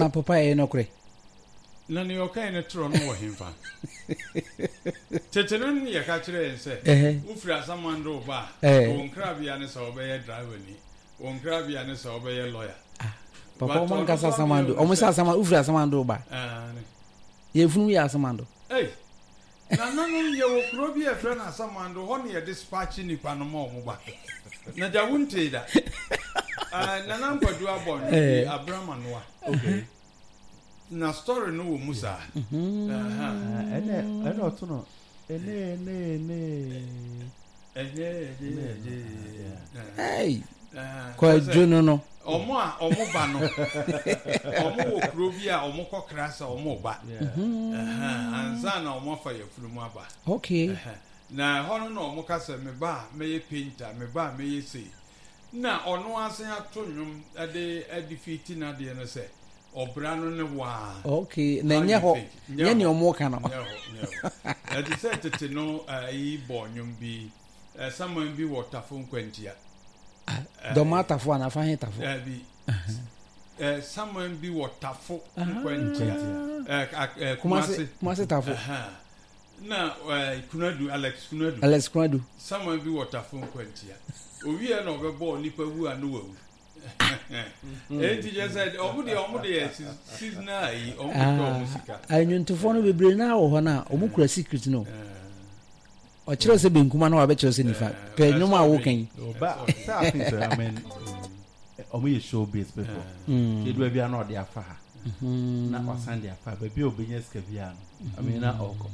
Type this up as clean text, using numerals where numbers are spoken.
Na papa ɛyɛ nɔkorɛ. Na nea ɔkae no torɔ no wɔ henfa? Tete no ne yɛka kyerɛ yɛn sɛ wofiri Asamando reba a, wo nkrabea ne sɛ wobɛyɛ driverni, wo nkrabea ne sɛ wobɛyɛ lawyer. Ah, papa ɔmo ankasa Asamando, ɔmo sɛ Asamando, wofiri Asamando reba. Yɛn funu yɛ Asamando. Ei, nananom yɛwɔ kuro bi a yɛfrɛ no Asamando, hɔ na yɛde spakye nnipa no ma ɔmo ba. Na gya wontee da. Nana Nkwadu abɔ nnwom bi, Abramanoa. Okay. Na story no wɔ mu saa. Ɛnɛ ɛnɛ ɔto no ɛnɛ ɛnɛ ɛnɛ. Ɛnɛ ɛnɛ ɛnɛ. Ɛy kwadwo no no. Ɔmo a ɔmo ba no ɔmo wɔ kuro bi a ɔmo kɔ kra sɛ ɔmo ba. Ansa na ɔmo afa yafunu mu aba. Okay. Na ɛhɔ no na ɔmo ka sɛ me ba a mɛyɛ painter me ba a mɛyɛ sei. Na ɔno asan ato nnwom de adefeati n'adeɛ no sɛ ɔbra no ne waa. Okay, na ɛnyɛ hɔ, nyɛ nea ɔmo ka no. Nyɛ hɔ, nyɛ hɔ. Ɛte sɛ tete no ayi bɔ nnwom bi, saman bi wɔ Tafo Nkwantia. Ah, Dɔm atafo anaa fa he tafo? Dabi. Saman bi wɔ Tafo Nkwantia. Kumase, Kumase Tafo. Na eh, Kunadu, Alex Kunadu. Alex Kunadu. Saman bi wɔ Tafo Nkwantia. Owie na ɔbɛbɔ nipa wu a no wawu. Enti kyerɛ sɛ ɔmo deɛ ɔmo deɛ seasonal ayi ɔmo de tɔ ɔmo sika. Anwontofoɔ no bebree naa wɔ hɔ no a ɔmo kura secret no. Ɔkyerɛ sɛ benkum ana wabɛkyerɛ sɛ nifa. Pɛ nnwom a woka yi. Ba sɛ afi sɛ I mean ɔmo yɛ show biz people. Edu baabi a na ɔde afa ha. Na wasan de afa baabi a obenya sika biara no. I mean na ɔkɔ.